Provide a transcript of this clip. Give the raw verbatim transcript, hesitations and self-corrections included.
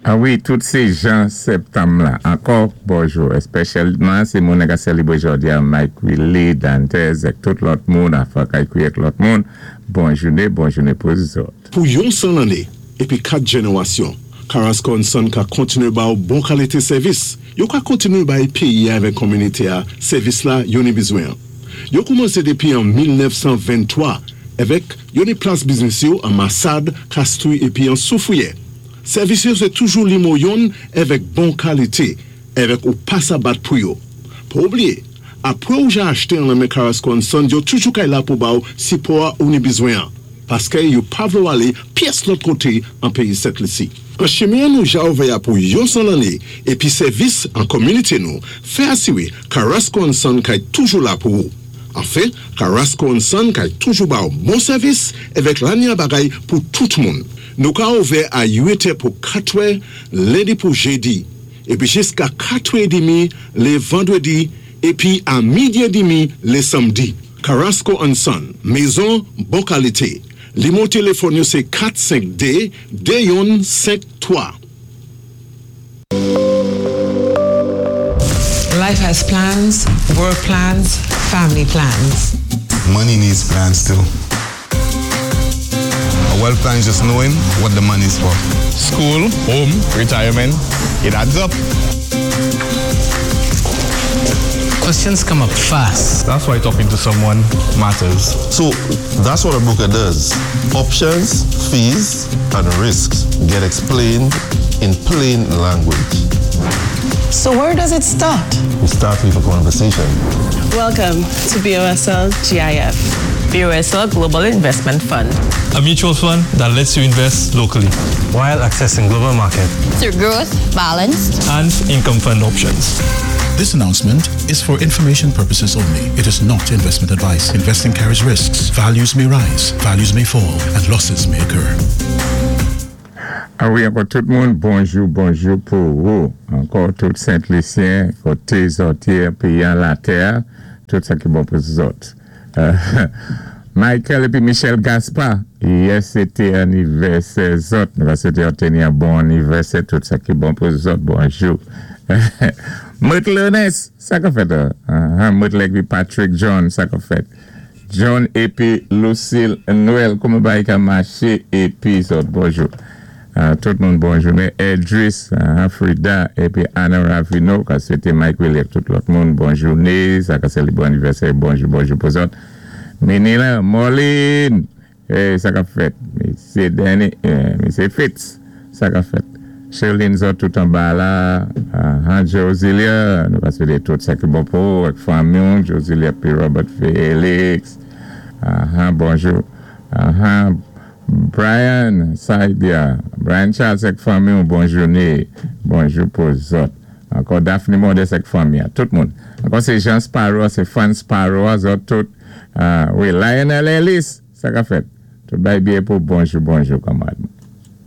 A wi, tout sé jan septanm la. Ankò, bonjou. Espésyalman, sé moun ka sélébwé jòdi a, Mike Willie, Dantes, èk tout lòt moun, afa kay èk lòt moun. Bon jouné, bon jouné pou zòt. Pou yon san lanné, épi kat jénéwasyon, Carrasco Son ka kontiné ba ou bon kalité sèvis. Yo ka kontiné bay péyi avèk kominité a sèvis la yo ni bizwen. Yo koumansé dépi an mil nèf san venntwa avèk yo ni plas biznis yo an Massade, Castries épi an Soufrière. Sèvis yo sé toujou nimewo youn avèk bon kalité, avèk ou pa sa bat pou yo. Pa oubliyé, apwé ou ja achté an men Carrasco Son, yo toujou kay la pou ba ou sipò ou ni bizwen. Paské yo pa vlé ou alé pyès lòt koté an péyi Sent Lisi. An chimen nou ja ouvè pou yon san lanné épi sèvis an kominité nou, fè asiwé Carrasco Son kay toujou la pou ou. Anfen, Carrasco Son kay toujou ba ou bon sèvis avèk lanya bagay pou tout moun. Nou ka ouvè a uit è pou kat è, lendi pou jédi, épi jiska kat è édmi lé vandwédi, épi a midi édmi lé sanmdi. Carrasco Son, mézon bon kalité. Nimewo téléfòn yo sé kat senk dé de youn senk twa. Life has plans, work plans, family plans. Money needs plans too. A wealth plan is just knowing what the money is for. School, home, retirement, it adds up. Questions come up fast. That's why talking to someone matters. So that's what a broker does. Options, fees, and risks get explained in plain language. So where does it start? We start with a conversation. Welcome to B O S L G I F. B O S L Global Investment Fund. A mutual fund that lets you invest locally while accessing global market through growth, balanced, and income fund options. This announcement is for information purposes only. It is not investment advice. Investing carries risks. Values may rise, values may fall, and losses may occur. A wi, ankò tout moun, bonjou, bonjou pou ou. Ankò tout Sent-Lisyen, koté zòt yé, péyi an latè, tout sa ki bon pou zòt. Euh, Michael épi Michel Gaspard, yè sé té anivèsè zòt. Nou va swété obteni yon bon anivèsè, tout sa ki bon pou zòt, bonjou. Mut Lenes, sa ka fèt? Uh, Mut épi Patrick John, sa ka fèt? John épi Lucille Noël, kouman bagay ka maché épi zòt, bonjou. Uh, tout moun bonjou. Men Edris, uh, Frida, épi Anna Ravino, ka swété Mike Williams, tout lòt moun, bon jouné, sa ka sélébré anivèsè, bonjou, bonjou pou zòt. Menila, Molin, eh, sa ka fèt. Misyé Danny, eh, Misyé Fitz, sa ka fèt. Sherlyn zòt tout anba la, uh, Josilia, nou ka swété tout sa ki bon pou, ak fanmi, Josilia pi Robert Félix, uh, bonjou. Uh, Brian Saidia, Brian Charles ak fanmi, bon jouné, bonjou pou zòt. Ankò Daphne Modeste ak fanmi, tout moun. Ankò sé Jean Sparrow, sé Fan Sparrow, zòt tout. Uh, wi, Lionel Ellis, sa ka fèt. Tout bay byen pou bonjou, bonjou, kanmarad.